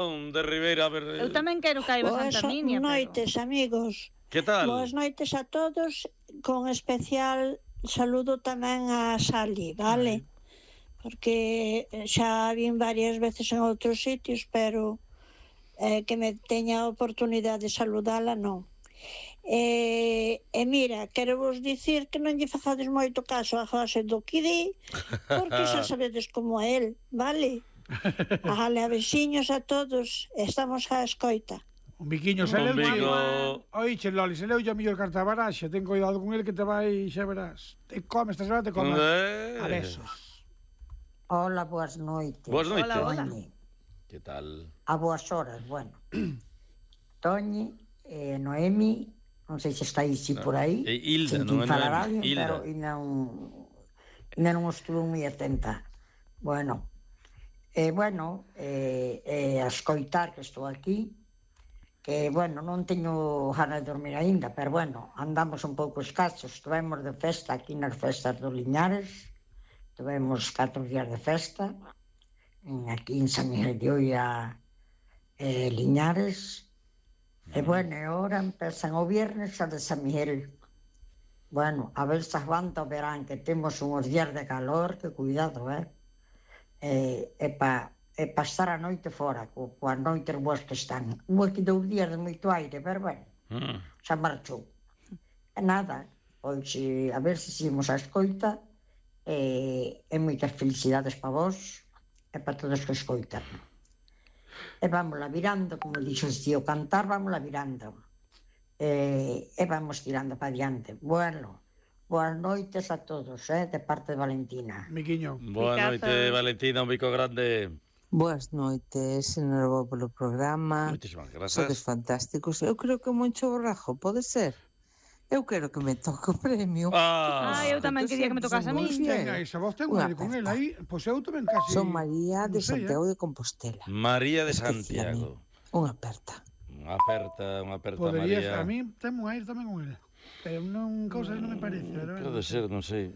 De Ribeira, a ver... Eu tamén quero que haiba Santa Minia, Boas noites, amigos. Que tal? Boas noites a todos, con especial saludo tamén a Sally, vale? Porque xa vin varias veces en outros sitios, pero que me teña a oportunidade de saludala, non. E mira, quero vos dicir que non lle fazades moito caso a José do que di, porque xa sabedes como é el, vale? Vale, a veciños a todos, estamos á escoita. Un biquiño, se leuche. Oiche, Loli, se leuche a mellor carta baraxa. Ten cuidado con el que te vai, xa verás. Te come, esta semana te come. A besos. Hola, boas noites. Boas noites. Hola. Que tal? A boas horas, bueno. Toñi, Noemi, non sei se estáis por aí. Hilda, non é Noemi. Pero ainda non estuve moi atenta. Bueno, a escoitar que estou aquí, que, bueno, non teño ganas de dormir aínda, pero, bueno, andamos un pouco escasos. Estivemos de festa aquí nas festas do Liñares, tivemos 4 días de festa, aquí en San Miguel de Oia, Liñares, e, bueno, agora empezan o viernes a de San Miguel. Bueno, a ver se aguanta o verán, que temos uns días de calor, que cuidado, e pa estar a noite fora, coas noites boas que están. Aquí 2 días de moito aire, pero bueno, xa marchou. E nada, pois a ver se seguimos a escoita, e moitas felicidades para vos e para todos que escoitan. E vámola virando, como dixo o tío cantar, vámola virando. E vamos tirando para diante. Bueno, boas noites a todos, de parte de Valentina. Miquiño. Boa noite, Valentina, un bico grande. Boas noites, enhorabuá polo programa. Moitísimas grazas. Sodes fantásticos. Eu creo que Moncho Borrajo, pode ser? Eu quero que me toque o premio. Eu tamén quería que me tocase a mí. Esa voz ten unha con el aí, pois eu tamén casi... Son María de Santiago de Compostela. María de Santiago. Unha aperta. Unha aperta, Poderías, María. a mí temo a ir tamén con el. Pero non, cousas non me parece. Pode ser, non sei.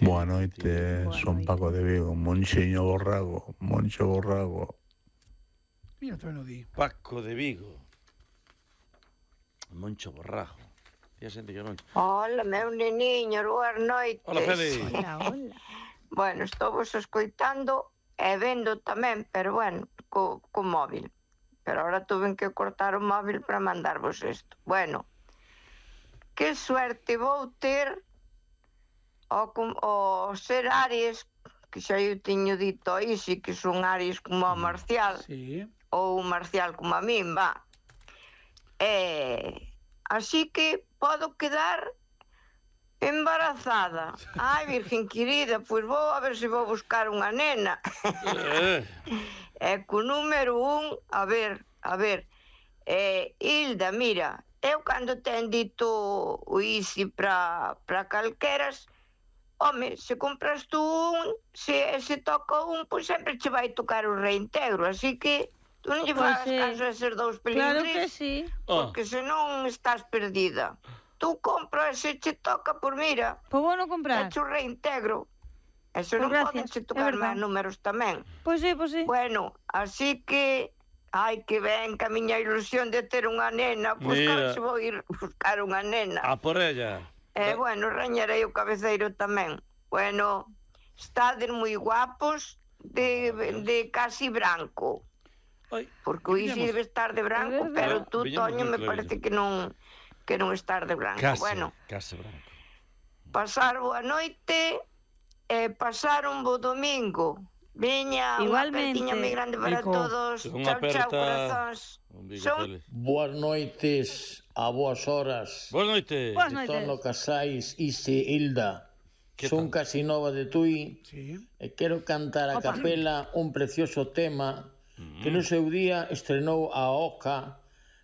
Boa noite, son Paco de Vigo, Moncho Borrago. Mira, tamén o di. Paco de Vigo. Moncho Borrajo. Hola, meu neniño, boas noites. Hola, Feli. Hola. Bueno, estou vos escoitando e vendo tamén, pero bueno, co móvil. Pero ahora tuve que cortar o móvil para mandarvos isto. Bueno, que suerte vou ter ao ser Aries, que xa eu teño dito aí, si que son Aries como a Marcial, ou Marcial como a min, va. Así que podo quedar embarazada. Ai, virgen querida, pois vou a ver se vou buscar unha nena. E co número 1, a ver, Hilda, mira, eu cando ten dito o ISI para calqueras, home, se compras tú un, se toca un, pois sempre che vai tocar o reintegro, así que tú non lle fagas caso a eses 2 pelingris. Claro que sí. Porque senón estás perdida. Tú compra e se che toca, por mira. Pois vou non comprar. Eche o reintegro. E se non poden che tocar máis números tamén. Pois sí. Bueno, así que... Ai, que ben, que a miña ilusión de ter unha nena, pois claro se vou ir buscar unha nena. A por ella. Bueno, rañarei o cabeceiro tamén. Bueno, estades moi guapos de casi branco. Porque o Isi debe estar de branco, pero tú, Toño, me parece que non estar de branco. Casi branco. Pasar boa noite e pasar un bo domingo. Veña, unha apertiña moi grande para todos. Chao, corazóns. Boas noites, a boas horas. Boas noites. Tono Casais, Ise, Hilda. Son casi nova de Tui e quero cantar a capela un precioso tema que no seu día estrenou a Oca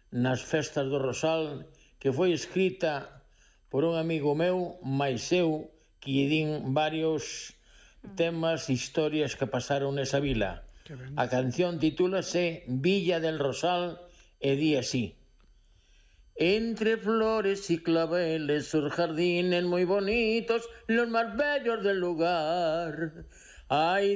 nas festas do Rosal, que foi escrita por un amigo meu, máis eu, que lle din varios temas, historias que pasaron nesa vila. A canción titúlase Villa del Rosal e di así: entre flores y claveles sus jardines muy bonitos, los más bellos del lugar. Ai,